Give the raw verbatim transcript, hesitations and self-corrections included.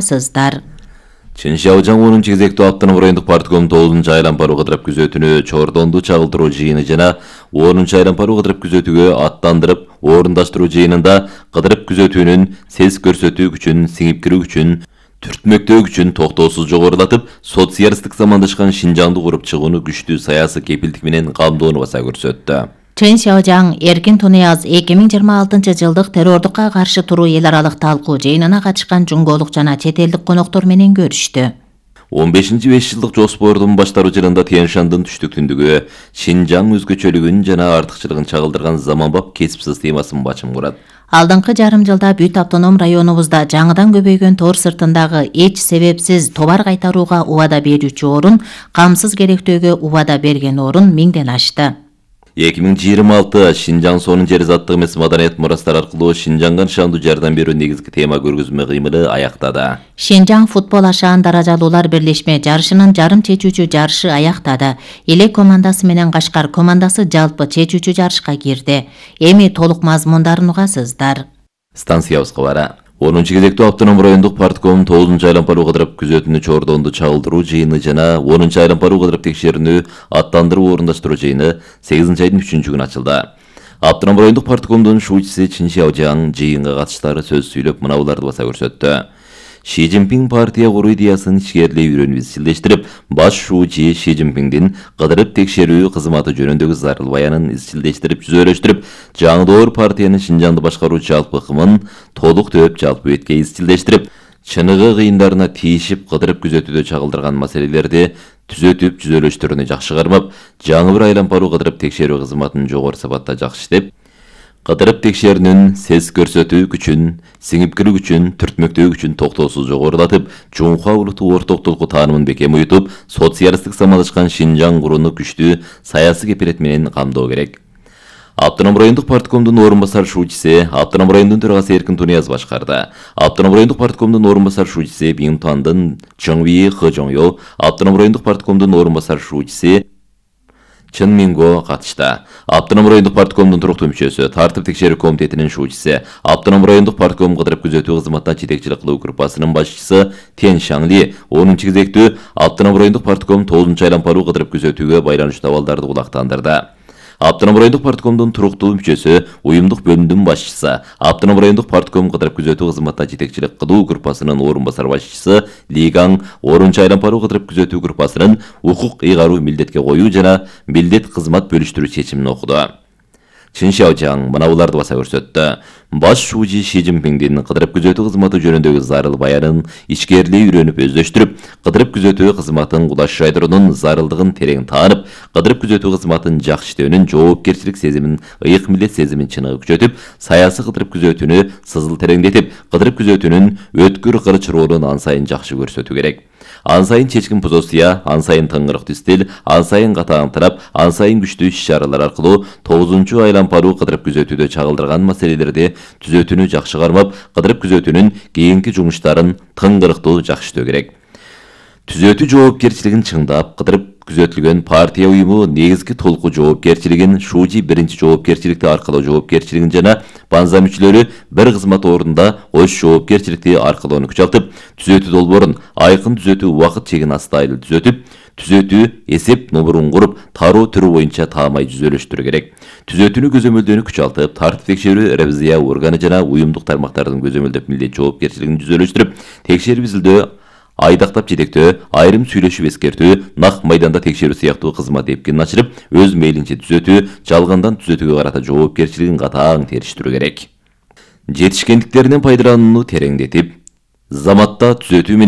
сыздар. Чыншаужан онунчу кезектүү автоном райондук партком тогузунчу айлампаруу кыдырып күзөтүүнү Чордонду чагылтыруу жыйыны жана онунчу айлампаруу кыдырып күзөтүүгө аттандырып орундаштыруу жыйынында кыдырып күзөтүүнүн сес көрсөтүү күчүн сиңип кирүү күчүн түртмөктөө күчүн токтоосуз жогорулатып, социалисттик замандашкан Шинжаңды куруп чыгууну күчтүү саясий кепилдик менен камдоону баса көрсөттү. Чыншаужан Эркин Тунияз эки миң жыйырма алтынчы жылдык террордукка каршы туруу эл аралык талкуу жыйынына катышкан жумголук жана чет элдик коноктор менен көрүштү. он бешинчи беш жылдык жоспордун башталуу жылында Тянь-Шандын түштүк-түндүгү Шинжаң өзгөчөлүгүн жана артыкчылыгын чагылдырган заманбап кесипсиз темасын бачым курат. Алдыңкы жарым жылда бүт автоном районубузда жаңыдан көбөйгөн тор сыртындагы эч себепсиз товар кайтарууга убада берүүчү орун, камсыз керектөөгө убада берген орун миңден ашты. эки миң жыйырма алты Шинжаң сонун жер заттык эмес маданият мурастар аркылуу Шинжаңга нышандуу жардам берүү негизги тема көргөзмө кыймылы аяктады. Шинжаң футбол ашаан даражалуулар бирлешме жарышынын жарым чечүүчү жарышы аяктады. Элек командасы менен Кашкар командасы жалпы чечүүчү жарышка кирди. Эми толук мазмундарын угасыздар. Станциябыз кабары. онунчу кезектүү автоном райондук партком тогузунчу айлампаруу кыдырып күзөтүүнү Чордонду чагылтыруу жыйыны жана онунчу айлампаруу кыдырып текшерүүнү аттандырып орундаштыруу жыйыны сегизинчи айдын үчүнчү күнү ачылды. Автоном райондук парткомдун шуучусу Чыншаужан жыйынга катыштары сөз сүйлөп мынауларды баса көрсөттү. Ши Цзиньпин партия куруу идеясын ичкерилей үйрөнүп изчилдештирип, баш шуучу Ши Цзиньпиндин кыдырып текшерүү кызматы жөнүндөгү зарыл баянын изчилдештирип, жүзөлөштүрүп, жаңы партиянын Шинжаңды башкаруу жалпы ыкмын толук төп жалпы бетке изчилдештирип, чыныгы кыйындарына тийишип кыдырып күзөтүүдө чагылдырган маселелерди түзөтүп, жүзөлөштүрүүнү жакшы кармап, жаңы бир айлампаруу кыдырып текшерүү кызматын жогору сапатта жакшы иштеп, кыдырып текшерүүнүн сес көрсөтүү күчүн, сиңип кирүү күчүн, түртмөктөө күчүн токтоосуз жогорулатып, жумка улуттук орток толку таанымын бекем уютуп, социалисттик замандашкан Шинжаң курууну күчтүү саясий кепилет менен камдоо керек. Автоном райондук парткомдун орун басар шуучусу, автоном райондун төрагасы Эркин Тунияз башкарды. Автоном райондук парткомдун орун басар шуучусу Биңтуандын Чоңви Хыжоңё, автоном райондук парткомдун орун басар шуучусу Чын Минго катышты. Автоном райондук парткомдун туруктуу мүчөсү, тартип текшерүү комитетинин шуучусу, автоном райондук партком кыдырып күзөтүү кызматына жетекчилик кылуу группасынын башчысы Тянь Шаңли онунчу кезектүү автоном райондук партком тогузунчу айлампаруу кыдырып күзөтүүгө байланыштуу абалдарды кулактандырды. Автоном райондук парткомдун туруктуу мүчөсү, уюмдук бөлүмдүн башчысы, автоном райондук партком кыдырып күзөтүү кызматына жетекчилик кылуу группасынын орун басар башчысы Лигаң онунчу айлампаруу кыдырып күзөтүү группасынын укук ыйгаруу милдетке коюу жана милдет кызмат бөлүштүрүү чечимин окуду. Чыншаужан мынауларды баса көрсөттү. Баш шуучу Ши Цзиньпиндин кыдырып күзөтүү кызматы жөнүндөгү зарыл баянын ичкерилей үйрөнүп өздөштүрүп, кыдырып күзөтүү кызматын кудаш жайдыруунун зарылдыгын терең таанып, кыдырып күзөтүү кызматын жакшы иштөөнүн жоопкерчилик сезимин, ыйык милдет сезимин чыныгы күчөтүп, саясий кыдырып күзөтүүнү сызыл тереңдетип, кыдырып күзөтүүнүн өткүр кырч ролун ан сайын жакшы көрсөтүү керек. Ан сайын чечкин позиция, ан сайын тыңгырыктуу стиль, ан сайын катаң тарап, ан сайын күчтүү иш-чаралар аркылуу тогузунчу айлампаруу кыдырып күзөтүүдө чагылдырган маселелерди түзөтүүнү жакшы кармап, кыдырып күзөтүүнүн кийинки жумуштарын тыңгырыктуу жакшы иштөө керек. Түзөтүү жоопкерчилигин чыңдап, кыдырып күзөтүлгөн партия уюму негизги толку жоопкерчилигин, шуучу биринчи жоопкерчиликти аркылоо жоопкерчилигин жана банза мүчөлөрү бир кызмат ордунда ош жоопкерчиликти аркылоону күчалтып, түзөтүү долбоорун айкын түзөтүү убакыт чегин астайыл түзөтүп, түзөтүү эсеп номерун куруп, тароо түрү боюнча таамай жүзөлөштүрүү керек. Түзөтүүнү көзөмөлдөөнү күчалтып, тартип текшерүү ревизия органы жана уюмдук тармактардын көзөмөлдөп милдет жоопкерчилигин жүзөлөштүрүп, текшерип изилдөө, айдактап жетектөө, айрым сүйлөшүп эскертүү, нак майданда текшерүү сыяктуу кызмат эпкинин ачырып, өз мейлинче түзөтүү, жалгандан түзөтүүгө карата жоопкерчилигин катаң териштирүү керек. Жетишкендиктеринен пайдаланууну тереңдетип, заматта түзөтүү менен